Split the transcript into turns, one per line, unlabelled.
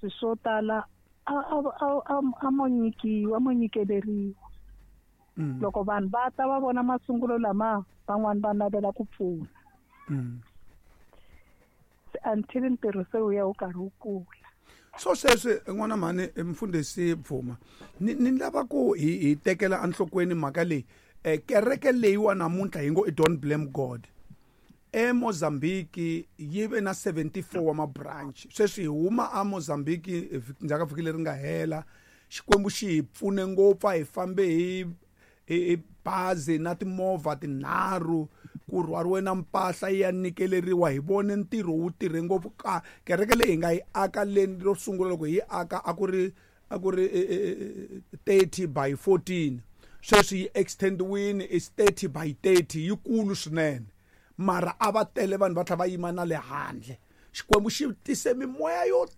Swi swo tala a mo nyikiwa, a mo nyikeleriwa. Loko vanhu va ta va vona masungulo lama, van'wani va navela ku pfuna. Se until ntirho se wu ya wu karhi wu kula.
So sweswi, n'wana mhani, mfundhisi Bvuma, ni lava ku hi tekela enhlokweni mhaka leyi. Kereke leyiwa namuntlha hi ngo i Don't Blame God eMozambique yi ve na 74 wa mabranch. Sweswi hi huma a Mozambique ndzhaku ka vhiki leri nga hela. Xikwembu xi hi pfune ngopfu, a hi fambe hi bazi na timovha tinharhu, ku rhwariwe na mpahla yi ya nyikeleriwa. Hi vone ntirho wu tirhe ngopfu ka kereke leyi hi nga yi aka leni ro sungula. Loko hi yi aka a ku ri 30 by 14. Sweswi yi extendiwini, is 30 by 30, yikulu swinene. Mara a va tele vanhu, va tlhela va yima na le handle. Xikwembu xi tise mimoya yo